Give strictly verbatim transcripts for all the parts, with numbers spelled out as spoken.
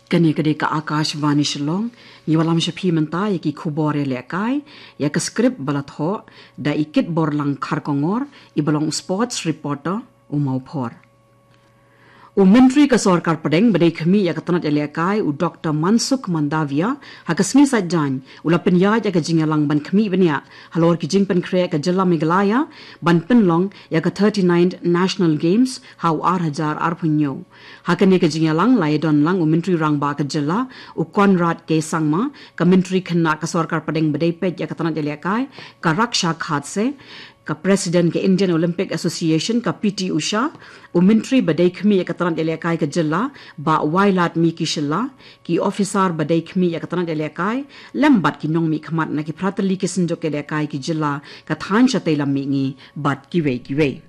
Kane ka dei ka Akashvani Shillong. Ngi wallam sha phi mynta ïa ki khubor ïalehkai, ïa ka script ba la thoh da i Kitborlang Kharkongor, i ba long sports reporter, u Mawphor. U Myntri ka Sorkar Pdeng ba dei khmih ïa ka tnat ïalehkai, u Doktor Mansukh Mandavia, ha ka sngi Saitjaiñ u la pynïaid ïa ka jingïalang ban khmih bniah halor ki jingpynkhreh ka jylla Meghalaya ban pynlong ïa ka thirty-ninth National Games ha u ar hajar arphew hynñiew. Ha kane ka jingïalang la ïadon lang u Myntri Rangbah ka jylla, u Conrad K Sangma, ka Myntri khynnah ka Sorkar Pdeng ba dei peit ïa ka tnat ïalehkai, ka Raksha Khadse, ka President ka Indian Olympic Association, ka P T Usha, u Myntri ba dei khmih ïa ka tnat ïalehkai ka jylla, Bah Wailadmiki Shylla, ki officer ba dei khmih ïa ka tnat ïalehkai, lem bad ki nongmihkhmat na ki phratylli ki synjuk ïalehkai ki jylla, ka thaiñ shatei lam mihngi bad kiwei kiwei.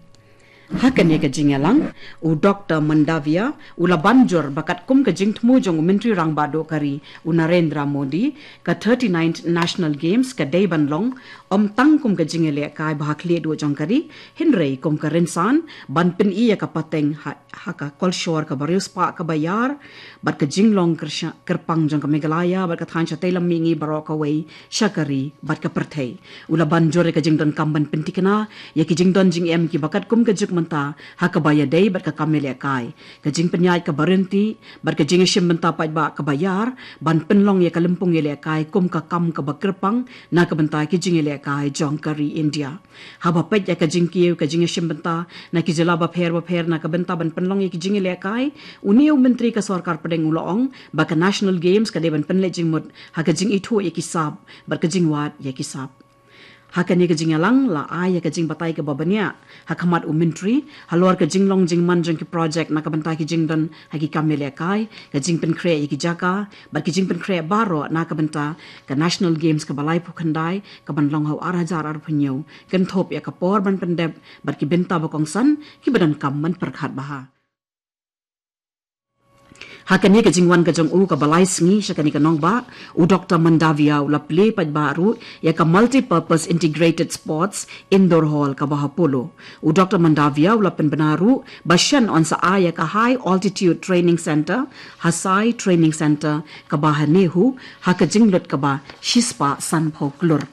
Ha kane ka jingïalang, u Doktor Mandavia u la ban jur ba katkum ka jingthmu jong u Myntri Rangbah Duh ka ri, u Narendra Modi, ka thirty-ninth National Games ka dei ban long ym tang kum ka jingïalehkai ba ha khlieh duh jong ka ri, hynrei kum ka rynsan ban pyni ïa ka pateng ha, ha ka kolshor kaba riewspah kaba ïar, bad ka jinglong kyrsha-, kyrpang jong ka Meghalaya bad ka thaiñ shatei lam mihngi baroh kawei sha ka ri bad ka pyrthei. U la ban jur ïa ka jingdonkam ban pynthikna ïa ki jingdon jingem kiba katkum ka juk mynta ha kaba ïadei bad ka kam ïalehkai, ka jingpynïaid kaba ryntih bad ka jingïashim bynta paidbah kaba ïar ban pynlong ïa ka lympung ïalehkai kum ka kam kaba kyrpang na ka bynta ki jingïalehkai jong ka ri India. Haba peit ïa ka jingkiew ka jingïashim bynta na ki jylla bapher bapher na ka bynta ban pynlong ïa ki jingïalehkai, une u Myntri ka Sorkar Pdeng u la ong ba ka National Games ka dei ban pynleit jingmut ha ka jingithuh ïa ki sap bad ka jingwad ïa ki sap. Ha kane ka jingïalang la ai ïa ka jingbatai kaba bniah ha khmat u Myntri halor ka jinglong jingman jong ki projek na ka bynta ki jingdon ha ki kam ïalehkai, ka jingpynkhreh ïa ki jaka bad ki jingpynkhreh baroh na ka bynta ka National Games kaba laiphew khyndai kaban long ha u ar hajar arphew hynñiew, kynthup ïa ka por ban pyndep bad ki bynta ba kongsan kiba donkam ban pyrkhat bha. Ha kane ka jingwan ka jong u kaba lai sngi sha kane ka nongbah, u Doktor Mandavia u la plie paidbah ruh ïa ka Multipurpose Integrated Sports Indoor Hall kaba ha Polo. U Doktor Mandavia u la pynbna ruh ba shen yn sa ai ïa ka High Altitude Training Center, HASAI Training Center, kaba ha NEHU, ha ka jinglut kaba shispah sanphew klur.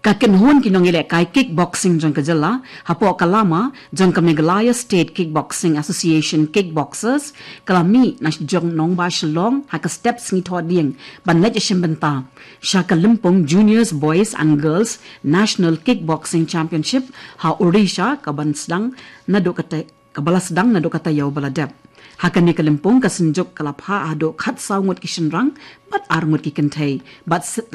Ka kynhun ki nongïalehkai kickboxing jong ka jylla hapoh ka lama jong ka Meghalaya State Kickboxing Association Kickboxers ka la mih na jong nongbah Shillong ha ka step sngi Thohdieng ban leit ïashim bynta sha ka lympung Juniors Boys and Girls National Kickboxing Championship ha Odisha kaban sdang naduh kata kaba la sdang naduh ka taïew ba la dep. Ha kane ka lympung ka synjuk ka la phah haduh khatsaw ngut ki shynrang bad ar ngut ki kynthei bad s-,